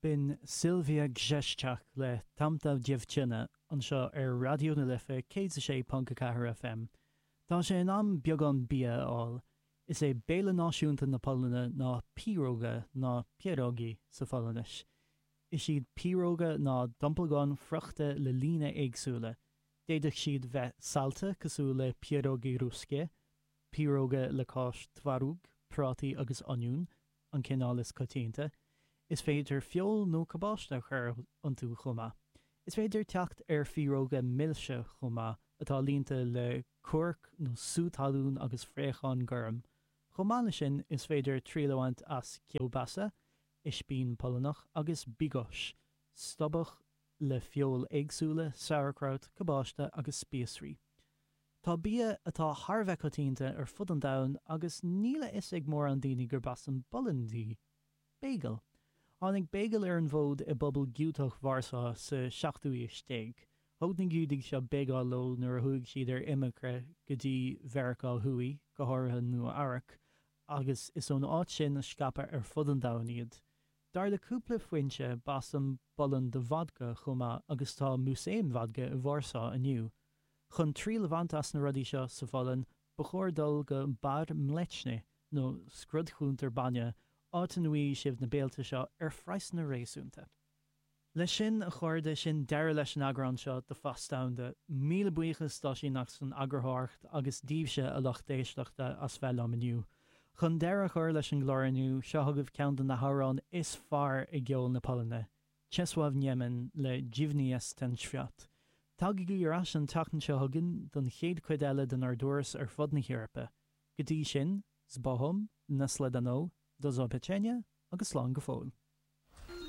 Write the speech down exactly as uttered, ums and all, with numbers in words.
B'in Sylwia Grzeszczak le Tamta Dziewczyna anseo ar Raidió na Life céad a sé ponc a ceathair FM. Tá sé in am beagán bia a fháil. Is é béile náisiúnta na Polainne ná piroga nó pierogi sa Pholainnis. Is iad piroga ná domplagáin friochta le líne éagsúla. D'fhéadfadh siad bheith saillte cosúil le pierogi ruskie, piroga le cáis twaróg, prátaí agus oinniún, an cineál is coitianta. Is féidir feoil nó cabáiste a chur iontu chomh maith. Is féidir teacht ar phiroga milse chomh maith atá líonta le coirc nó sú talún agus fraochán gorm. Chomh maith leis sin, is féidir triail a bhaint as kiełbasa, ispín Polannach agus bigos, stobhach le feoil éagsúla, sauerkraut, cabáiste agus spíosraí. Tá bia atá thar a bheith coitianta ar fud an domhain agus níl a fhios ag mórán daoine gurb as an bPolainn í. Bagel. Tháinig bagel ar an bhfód i bpobal Giúdach Vársá sa seachtú haois déag. Thóg na Giúdaigh seo bagel leo nuair a chuaigh siad ar imirce go dtí Mheiriceá Thuaidh, go háirithe Nua-Eabhrac, agus is ón áit sin a scaipeadh ar fud an domhain iad. Dar le cúpla foinse b'as an bPolainn do vodka chomh maith agus tá músaem vodka i Vársá inniu. Chun triail a bhaint as na rudaí seo sa Pholainn, ba chóir dul go Bar Mleczny nó scrudchuntar bainne, áit ina bhfaighidh sibh na béilte seo ar phraghsanna réasúnta. Leis sin, a chairde, sin deireadh leis an eagrán seo de Phas Domhanda. Míle buíochas d'Oisín as an eagarthóireacht agus daoibhse a lucht éisteachta as bheith liom inniu. Chun deireadh a chur leis an gclár inniu, seo chugaibh ceann de na hamhráin is fearr i gceol na Polainne, Czesław Niemen le Dziwny jest ten świat. Tagaigí ar ais an tseachtain seo chugainn don chéad chuid eile denár dturas ar fud na hEorpa. Go dtí sin, z Bogom, na shledanou, do zobaczenia agus slán go fóill.